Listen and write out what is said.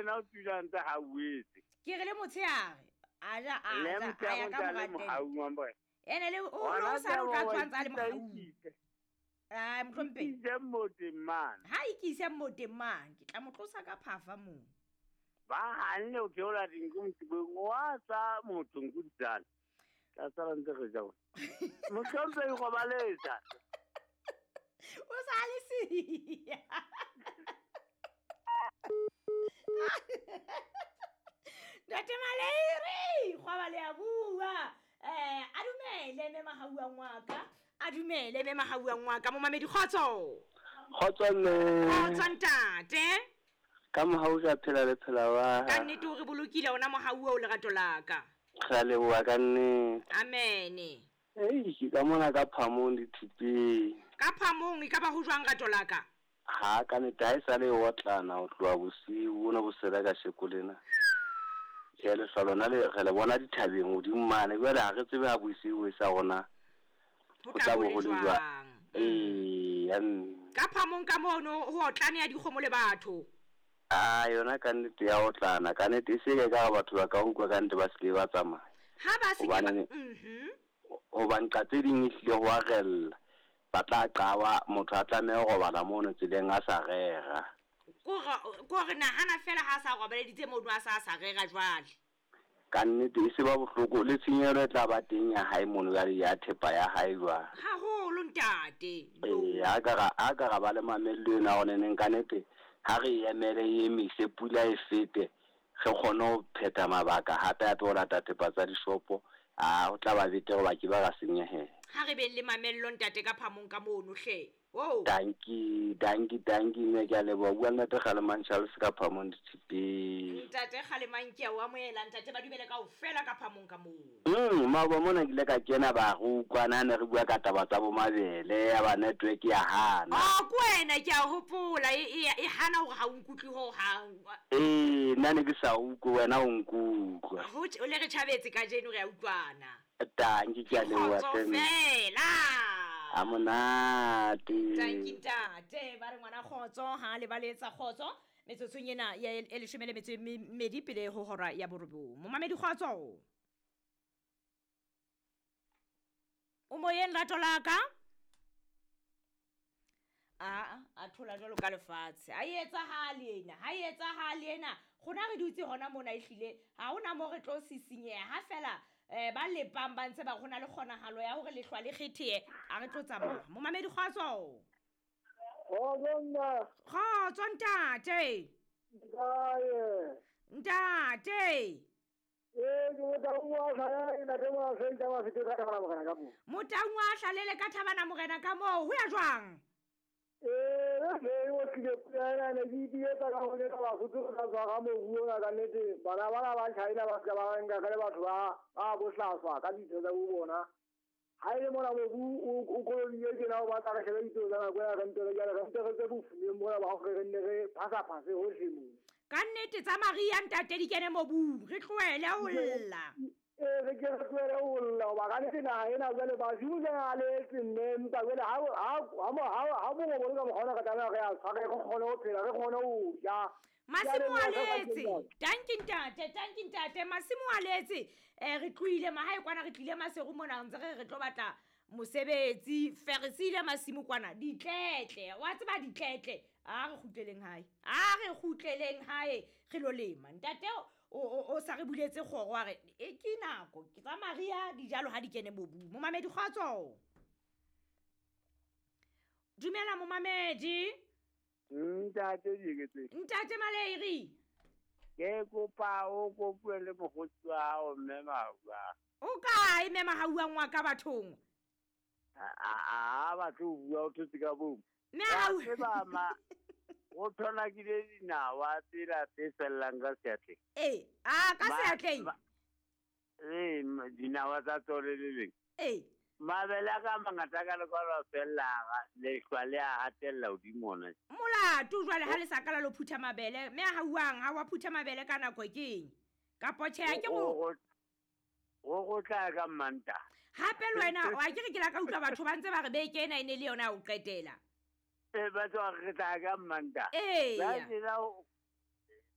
yena o tula ntse hauetse. Ke re le motshehare a ja a Le ja a motshehare ya o ka ntse a le mora tente. mohaung wa morena. Ene le o Hona o sa re o tla taba wa tshwantsa a le ikisa mohaung. ikise. Ai mohlomphehi. Ikise moteng mane. Ha ikise moteng mane, ke tla mo tlosa ka phafa moo. Ba hanne o theola dinku motibong, wa tsa motho nku di tsala. Tla sala ntse re ja. Mohlomphehi robaletsa. O sa le siya. Ntate Maleiri, kgwaba le a bua. A dumele mme Mahauang wa ka. A dumele mme Mahauang wa ka, momamedi kgotso. Kgotso mme. Kgotso ntate. Ka mohau ka phela le phela wa. Ka nnete o re bolokile ona mohau o lerato la ka. Re a leboha ka nnete. Amen. Ei, ke ka mona ka phamong dithupeng. Ka phamong e ka ba ho jwang rato la ka? Ha ka nnete ha e sale e otlana ho tloha bosiu bona bo sela ka sheko lena. Tjhe, lehlwa lona le re le bona dithabeng hodimo mane, jwale ha re tsebe ha bosiu e sa rona. Ho Ho tla tla bo bo le ho le jwang. jwang? Ee, ya mme. Ka phamong ka mono ho otlane ya dikgomo le batho. Ah, yona ka nnete ya otlana, ka nnete e se ke ka batho ba ka utlwa ka nnete ba se ke ba tsamaya. Ha ba se ke ba Hobane hobane ka tse ding ehlile ho a rella. Ba tla qaba, motho a tlameha ho robala mono tseleng a sa rera. Ko re nahana fela ha sa robaleditse mono a sa rera jwale. Ka nnete e se ba bohloko le tshenyehelo e tla ba teng ya hae mono jwale ya thepa ya hae jwale. Haholo ntate. Ee, ha ka ra ba le mamello ena hore neneng ka nnete ha re e emele e emise pula e fete re kgone ho phetha mabaka hape hape ho lata thepa tsa dishopo, a ho tla ba betere hoba ke ba ra senyehela. Ha re beng le mamello ntate ka phamong ka mono hle. Oh. Danki, danki, danki mme ke a leboha. Bua le Ntate Kgalemang Charles ka phamong dithupeng. Ntate Kgalemang ke a o amohela ntate, ba dumele kaofela ka phamong ka moo. Maoba mona ke ile ka kena ba re utlwana ha ne re bua ka taba tsa bo mabele, ya ba network ya hana. Oh, ke wena ke a hopola e hana hore ha o nkutlwe ho hang. Ee, nna ne ke sa utlwe, wena o nkutlwa. Ho le re tjhabetse kajeno re a utlwana. Danki ke a leboha Kgotso hle. fela. Ha monate. Danki ntate, ba re ngwana kgotso ha le ba letsa kgotso metsotsong ena ya e leshome le metso e mmedi pele ho hora ya borobong. Momamedi kgotso. O moyeng rato la ka? A thola jwalo ka lefatshe. Ha e etsahale ena, ha e etsahale ena. Rona re dutse hona mona ehlile, ha hona moo re tlo sisinyeha. Ha fela ba lepang ba ntse ba rona le kgonahalo ya hore lehlwa le kgethehe, a re tlo tsamaya. Momamedi kgotso. Kgotso nna. Kgotso ntate. Kae? Ntate. Ee, ke Motaung wa Hlalele, ntate Moahleng, tsa Mafete ka Thabana Morena ka moo. Motaung wa Hlalele ka Thabana Morena ka moo, ho ya jwang? Ee, re o tlile pula ena, ne ke ipiletsa ka ho neta Basotho re tla tshwara mobu ona ka nnete. Bana bana ba China ba ska ba nka ka le batho ba bohlaswa ka ditho tsa bo bona. Ha e le mona mobu o kolobile tjena, o batla re shebe ditho tsa nako ena, re nte re jale, re nte re tse bofumeng mona ba hore re nne re phasa-phase hohle moo. Ka nnete tsa Maria ntate di kene mobung, re tlohele ho lla. Ee, re ke re tlohele ho lla, hoba ka nnete naha ena jwale badimo jwale ha le etse mme, empa jwale ha mongobo le ka mokgwa ona re tlameha re a tshware, re kgone ho phela, re kgone ho ja. Masimo a Jwale re letse. Danki ntate, danki ntate, masimo a letse. Re tlohile mahae kwana, re tlile Maseru mona, ntse re re tlo batla mosebetsi, fe re siile masimo kwana, ditletle, wa tseba ditletle. A re kgutleleng hae, a re kgutleleng hae, re lo lema. Ntate o sa re buletse kgoro, wa re, e ke nako, ke tsa Maria, dijalo ha di kene mobung. Momamedi kgotso. Dumela momamedi. Ntate Diketseng. Ntate Maleiri. Ke kopa o kopuwe le mokgotsi wa hao mme Mahauwa. O kae mme Mahauwa ngwa ka bathong? A batle ho bua, o thotse ka bong. Mme Mahauwa. Wa tseba ma, o thonakile dinawa tsela tse fellang ka seatleng. Ee, a ka seatleng? Ee, dinawa tsa tsone le leng. Ee. Mabele a ka mangata ka lekwalo a fella, lehlwa le a hatella hodimo ona. Molato jwale ha le sa ka la lo phutha mabele, mme ha uang ha wa phutha mabele ka nako keng? Kapo tjhe, ha ke go Go tla ka Mmantaha. Hape le wena, wa ke re ke la ka utlwa batho ba ntse ba re beke ena e ne le yona ya ho qetela. Ee, ba tswa re tla ka Mmantaha. Ee. Ba tsela